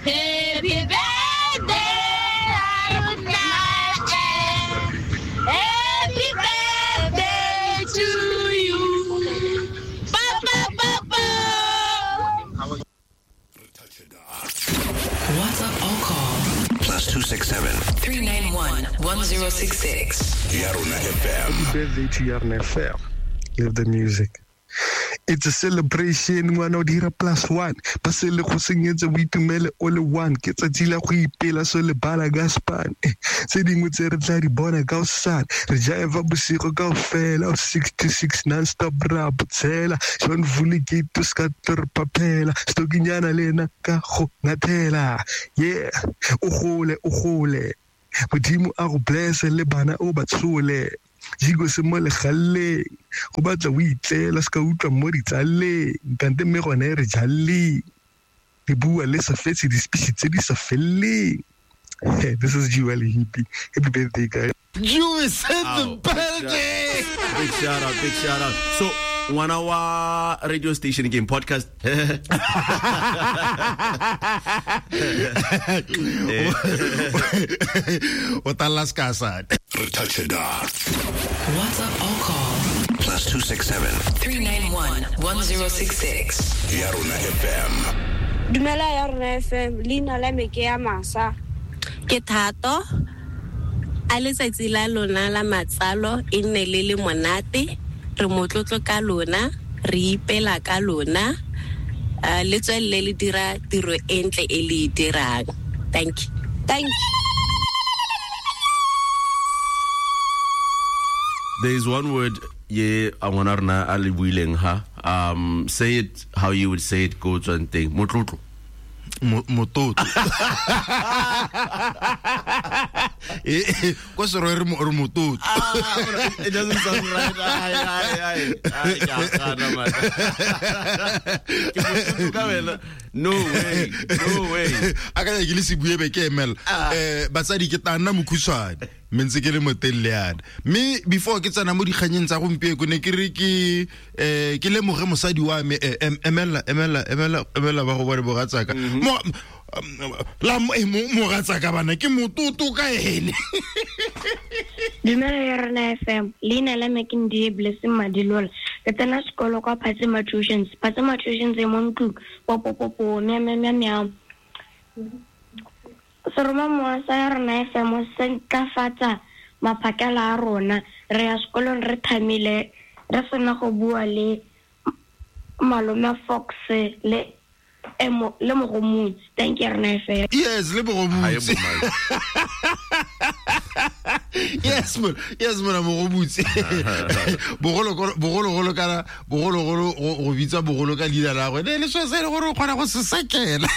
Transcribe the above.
Happy birthday, Yarona. Happy birthday to you. Pa, pa, pa, pa. WhatsApp or call +267 391 1066. Yarona FM. Happy birthday to Yarona FM. Live the music. It's a celebration, ngwana o dira +1. Ba se le go senyetsa boitumele o le one. Ke tsatsi la go ipela so le bala ka span. Tse dingwe tse re tla di bona ka hosane. Re jaeva bosigo kaofela, o 6 to 6 non-stop ra botshela. John Vuli gate o ska tlo re phaphela. Stokinyana le ena ka go ngathela. Yeah, o gole, o gole. Modimo a go bless le bana o ba tshole. Jigo se mo legalleng, go batla o itlela se ka utlwa mo ditsaleng, kante mme gone re jalleng, re bua le sa fetse di-speech tse di sa felleng. Hey, this is Jewel Hippie. Happy birthday, guys. Jew is in the Ow, building. Big shout out, big shout out. So, ngwana wa radio station game podcast. O talla sekasane. Re touch it up. WhatsApp or call +267 391 1066. Yarona FM. Dumela ya rona FM, leina la me ke ya Masa. Ke Thato. A letsatsi la lona la matsalo e nne le le monate, re motlotlo ka lona, re ipela ka lona, le tswelele le dira tiro e ntle e le e dirang. Thank you. Thank you. There is one word ye a ngwana rona a le buileng ha. Say it how you would say it, go tswang teng. Motlotlo. Mototlo. Ko Serowe re mototlo. It doesn't sound right. Ai, ai, ai. Ai, ke a gana, man. Ke motlotlo ka wena. No way. No way. A ka ya ke le se bue be ke emela. Batsadi ke tla nna mokhutshwane, mme ntse ke le motelele yana. Mme before ke tsena mo dikganyeng tsa gompieno, ne ke re ke lemoge mosadi wa me, emela, emela, emela, emela ba go bone bogatsaka. La mogatsaka bana ke mototo ka ene. Dumela ya rona FM, leina la me ke Ndie Blessing Madilola. Ke tsena sekolo kwa Phatsima Tuitions. Phatsima Tuitions e mo ntlong. Popopopo, mia, mia, mia, mia. Seromamowa sa ya rona FM se ntlafatsa maphakela a rona. Re ya sekolong re thamile, re sena go bua le malome Fox le le Mogomotsi. Thank you, rona FM. Yes, le Mogomotsi. Hi, bo Yes, man. Yes, man, Mogomotsi. Bogologolo, bogologolo kana, bogologolo, go bitsa bogolo ka leina la gagwe. Ne le selo se e le gore o kgona go se sekela.